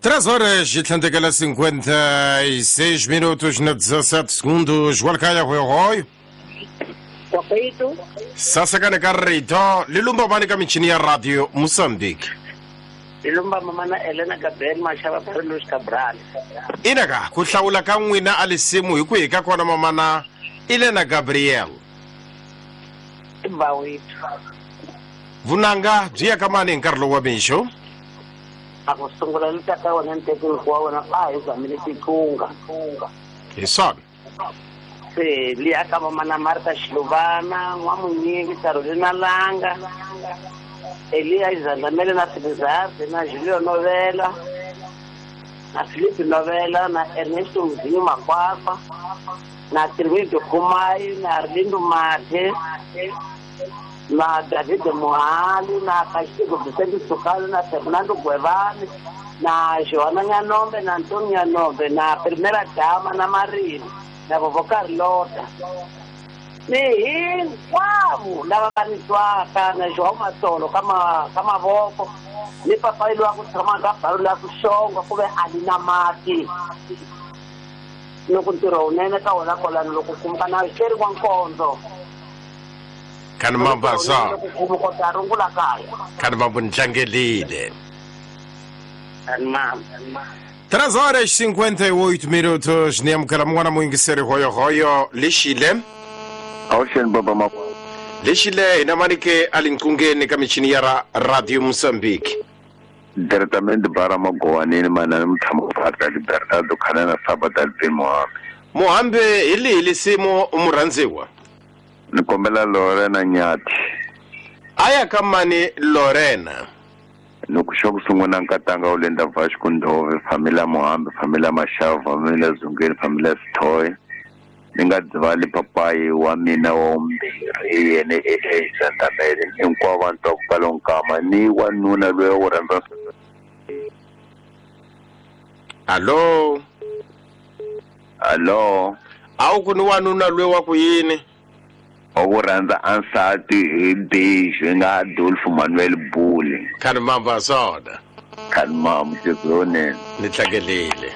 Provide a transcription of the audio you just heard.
3 horas e tlhandlekela 56 minutos na 17 segundos. Walkaya hoyohoyo. Kwakwetu. Sasakane ka rito le lumba mani ka michini ya radio Mozambique. Ilumba mamana Elena Gabriel Mashava Carlos Cabral. Ina ka ku hlawula ka n'wina a lisimu hi ku hi ka kona mamana Elena Gabriel. Bawethu. Vunanga byi ya ka mani hi nkarhi lowu wa mixo? A ku sungula ni tata wena ntekeni wa wena a hi zamile titlunga. Hi swona. Se liya ka mamana Martha Xiluvana, N'wamunyingi, Carolina Langa, Eliya Izandamele na Filizarde na Julio Novela na Filipe Novela na Ernesto Mzinho Makwakwa na Tirmido Khumai na Arlindo Mathe na David Mohali na Kashiko Vicente Sukalo na Fernando Guevara na Joana Nyanombe na Antonio Nyanombe na Primera Dama na Marina na Vovó Carlota ni hinkwavo lava va ni twaka na João Matsolo ka mavoko ni papayi loyi a ku tshama ka balo la ku xonga ku ve a ni na mati loko ntirho wunene ka wona kwalano loko kumka na xeri wa nkondzo Kani mambasa. loko kumu kota rungula kaya. Kani mambo ni tlangelile. Kani mamba. 3 horas 58 minutos ni amukela mun'wana muyingiseri hoyohoyo lexile. Awuxeni baba ma. Lexile hina manike a linqungeni ka michini ya Radio Mozambique. Diretamente bara magowanini manani mutshama Padre Bernardo Khanana Sabata Alvin Muhambe. Muhambe hi lihi lisimu murhandziwa? Ni kombela Lorena Nyati. Aya ka mani Lorena? Loko xo ku sungula nkatanga wu lenda Vasco Ndove, familia Muhambe, familia Mashava, familia Zungeni, familia Sithoye. Ni nga dzivali papayi wa mina wa vumbirhi yena eZandamele hinkwavo vanhu twa ku pfala nkama ni wanuna loyi wo rhandza. Allo. Allo. A wu ku ni wanuna loyi wa ku yini? Wa ku rhandza ansati hi Biju hi nga Adolfo Manuel Bule. Kani mamba swona. Kani mamba tizonene. Ni tlangelile.